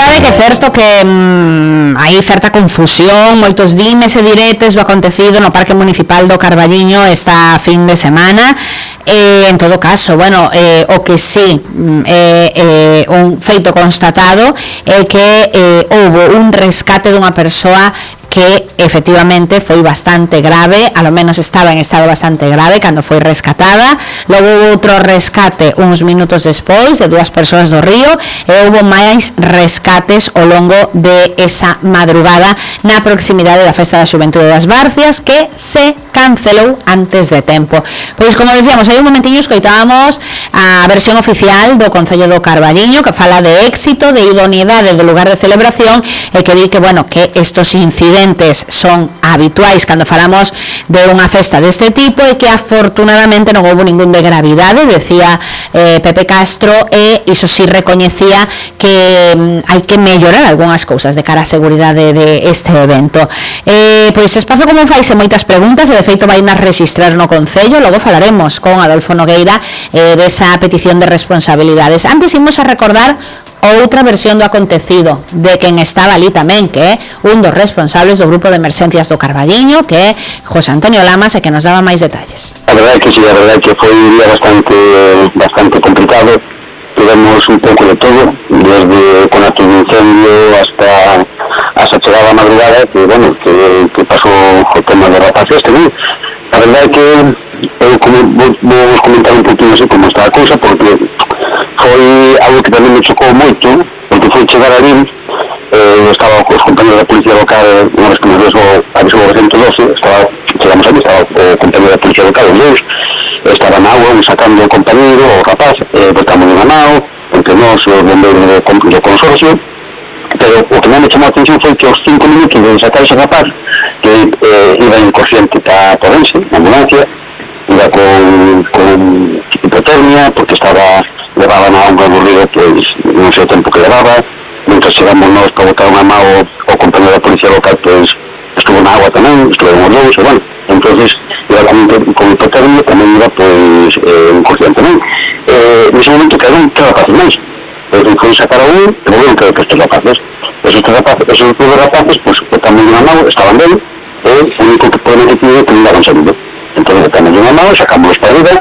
verdade que é certo que hai certa confusión, moitos dimes e diretes do acontecido no Parque Municipal do Carballiño esta fin de semana. En todo caso, bueno, o que sí un feito constatado é que houve un rescate dunha persoa que efectivamente foi bastante grave, a lo menos estaba en estado bastante grave cando foi rescatada. Logo houve outro rescate uns minutos despois de dúas persoas do río, e houve máis rescates ao longo de esa madrugada na proximidade da Festa da Xuventude das Barcias, que se cancelou antes de tempo. Pois, como dicíamos, hai un momentiño escoitábamos a versión oficial do Concello do Carballiño, que fala de éxito, de idoneidade do lugar de celebración, e que di que, bueno, que estos incidentes son habituais cando falamos de unha festa deste tipo, e que afortunadamente non houve ningún de gravidade, decía Pepe Castro, e iso sí recoñecía que hai que mellorar algunhas cousas de cara á seguridade de este evento. Pois Espazo Común faise moitas preguntas, e de feito vai nas registrar no Concello. Logo falaremos con Adolfo Nogueira desa petición de responsabilidades. Antes imos a recordar outra versión do acontecido de quen estaba ali tamén, que é un dos responsables do grupo de emerxencias do Carballiño, que é José Antonio Lamas, e que nos daba máis detalles. A verdade que sí, a verdade que foi un día bastante complicado. Tivemos un pouco de todo, desde con actos de incendio hasta chegada a madrugada, que, bueno, que pasou o tema de rapaces, non? A verdade que eu vou comentar un poquinho así como está a cousa, porque foi algo que tamén me chocou moito, porque foi chegar ali, estaba os compañeros da policía local, unha vez que nos avisou o 112, chegamos ali, estaba o compañero da policía local, os dous, estaba na agua, sacando o compañero, o rapaz, botamos na mão, entre nós, os bombeiros do consorcio, pero o que me chamou a atención foi que aos 5 minutos de sacar ese rapaz, que iba inconsciente para Porense, na ambulancia, iba con hipotermia, porque levaba na honra do río, pois non sei o tempo que levaba. Mientras chegamos nós para botar unha mão ao compañero da policía local, pois estuvo na agua tamén, estuvemos os dous, e bueno, entonces iba con hipotermia, tamén iba pois inconsciente tamén. Nese momento quedaron 3 rapaces máis, foi sacar a un, e volveron que estes rapaces, esos dos rapaces, pois botamos unha mão, estaban ben, e o único que podemos decidir é que non daban saludo. Entonces botamos unha mão, sacamos para arriba,